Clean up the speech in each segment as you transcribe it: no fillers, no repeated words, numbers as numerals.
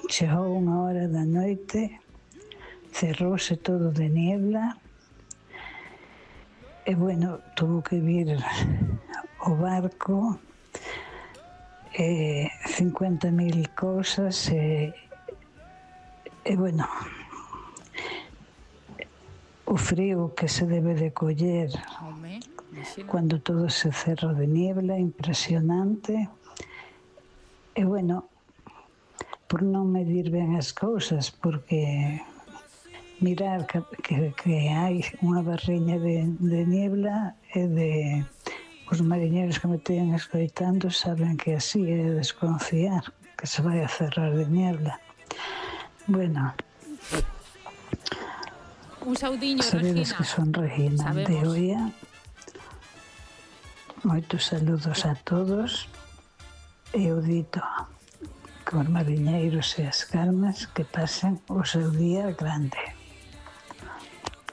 chegou unha hora da noite, cerrouse todo de niebla, e, bueno, tuvo que vir o barco, 50.000 cousas, e, bueno, o frío que se debe de coller cando todo se cerra de niebla, impresionante. E, bueno, por non medir ben as cousas, porque mirar que hai unha barriña de niebla e de os mariñeiros que me teñen escoitando saben que así é desconfiar que se vai a cerrar de niebla. Bueno, un saudiño, sabedes Regina. que son Regina de Oia. Moitos saludos a todos. E eu dito que os mariñeiros e as calmas que pasen o seu día grande.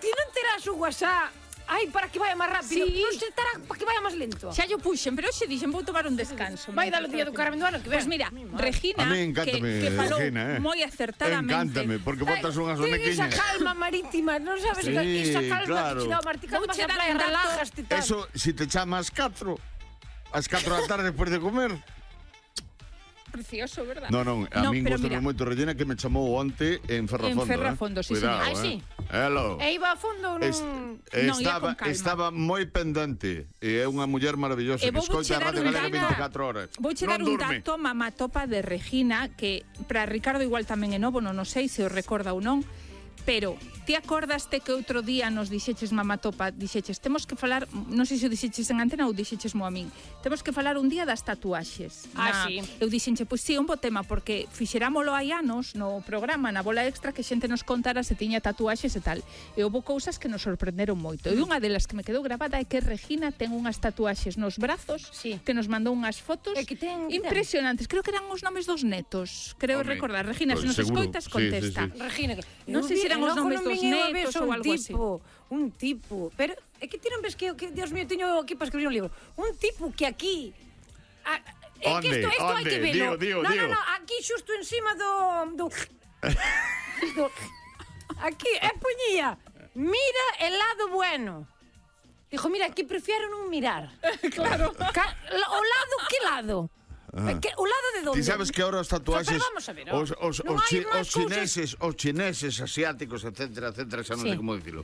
Ti non terás o WhatsApp? Ai, para que vaya máis rápido. Sí. Non se terá para que vaya máis lento. Xa yo puxen, pero hoxe dixen vou tomar un descanso. Vai dar o día do Carmen do ano que ven. Pois mira, Regina, A mí encántame, que falou Regina, moi acertadamente. Encántame, porque botas unhas Ten onequiñas. esa calma marítima, non sabes? Sí, Esa calma claro. que te dá o Martí cando vas Vouche a dar praia, un dato. relajaste tal. Eso, si te chamas 4, ás 4 da tarde despois de comer. Precioso, verdad? Non, a min pero gustame mira, moito Regina que me chamou onte en Ferrafondo. En Ferrafondo, sí, Cuidado, señor. Ai, sí. Hello. E iba a fondo nun... Non, ia con calma. Estaba moi pendente e é unha muller maravillosa E que vou escoita a dar Radio un Galega dato. 24 horas. Vouche Non dar un durme. dato mamatopa de Regina que para Ricardo igual tamén é novo, non sei se o recorda ou non, pero ti acordaste que outro día nos dixeches mamatopa, dixeches, temos que falar, non sei se o dixeches en antena ou dixeches mo a min, temos que falar un día das tatuaxes. Sí. Eu dixenche, pois sí, un bo tema, porque fixerámolo hai anos no programa, na bola extra, que xente nos contara se tiña tatuaxes e tal. E houve cousas que nos sorprenderon moito. E unha delas que me quedou grabada é que Regina ten unhas tatuaxes nos brazos, Sí. que nos mandou unhas fotos E que ten- impresionantes. Creo que eran os nomes dos netos. Creo Home, recordar. Regina, se nos seguro. escoitas, Sí, contesta. sí, sí. Regina, Non sei se eran os nomes dos netos ou algo así. Un tipo, pero é que ti non ves que Dios mío, teño aquí para escribir un libro. Un tipo que aquí é que Onde? isto hai que Onde? velo. Dio. No, aquí xusto encima do aquí poñía mira el lado bueno. Dijo, mira, aquí prefiero non mirar. Claro. O lado, que lado? O lado de donde? Ti sabes que ahora os tatuaxes, Pero vamos a ver, os non hai máis chineses, asiáticos, etcétera, xa non Sí. sei como dicilo.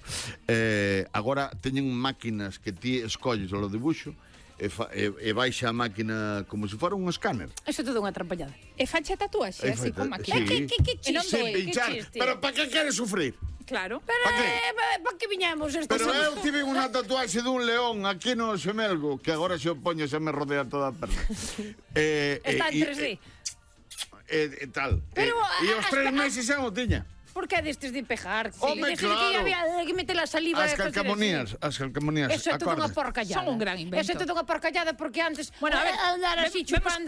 Agora teñen máquinas que ti escolles o dibuixo e baixa a máquina como se fora un escáner. Eso é todo unha trampallada. E facha tatuaxe, así como aquí. Sí. Que E non chiste, doe, que Pinchar. chiste. Pero para que queres sufrir? Claro. Pero, ¿Pa qué? para que viñamos estes Pero eu tive unha tatuaxe dun león aquí no xemelgo, que agora se o poño xa me rodea toda a perna. Está en 3D. E tal. Pero, E os 3 meses xa o tiña. Por que destes de pegar? Home, destes claro. que había que meter a saliva As e facer calcamonías, Eso é toda unha acordas? porcallada. Son un gran invento. Eso é toda unha porcallada porque antes Bueno, a ver, andar así chupando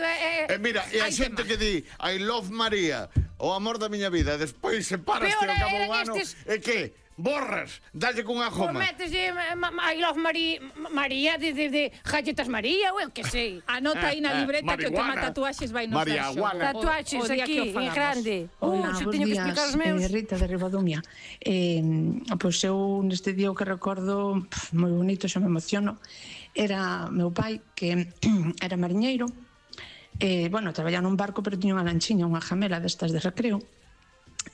Mira, e a Hai xente tema. que di I love María, o amor da miña vida, despois separaste Peor ao cabo eran un ano, estes- e que? Borras, dalle cunha Pois goma. metes I love María de galletas María, ou eu que sei. Anota aí na libreta que o tema marihuana. tatuaxes vai nos Marihuana. dar xogo. Tatuaxes O día que aquí, o en fagamos. grande. Hola, Se bos teño que días, explicar os meus. Rita de Ribadumia. Pois eu neste día o que recordo moi bonito, xa me emociono, era meu pai que era mariñeiro, bueno, traballaba nun barco pero tiña unha lanchiña, unha jamela destas de recreo,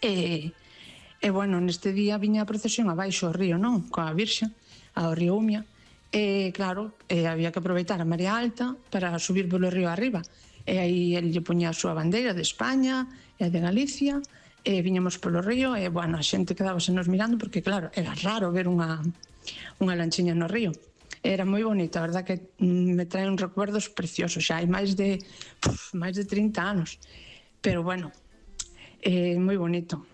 e bueno, neste día viña a procesión abaixo ao río, non? Coa Virxe, ao río Umia, e claro, había que aproveitar a marea alta para subir polo río arriba, e aí ele lle poñía a súa bandeira de España e a de Galicia, e viñamos polo río, e bueno, a xente quedábase nos mirando, porque claro, era raro ver unha lanchiña no río. Era moi bonita, a verdad que me trae uns recuerdos preciosos, xa hai máis de 30 anos, pero bueno, moi bonito.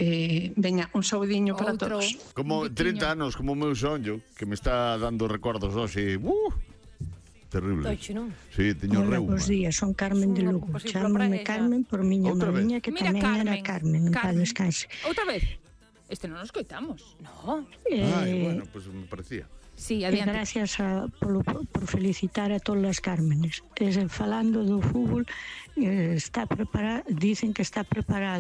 Veña, un saudiño para Outro. todos. Como 30 anos, como o meu sonho, que me está dando recordos hoxe. Terrible. Tocho, non? Sí, teño Hola, reuma. bos días, son Carmen de Unha Lugo. composición Chámame para ella. Carmen por miña Outra vez? mariña, que Mira, tamén era Carmen, en paz descanse. Outra vez. Este non nos coitamos. No. Ai, bueno, pues me parecía. Sí, E adiante. gracias por felicitar a todas as Cármenes. Falando do fútbol, está preparado, dicen que está preparado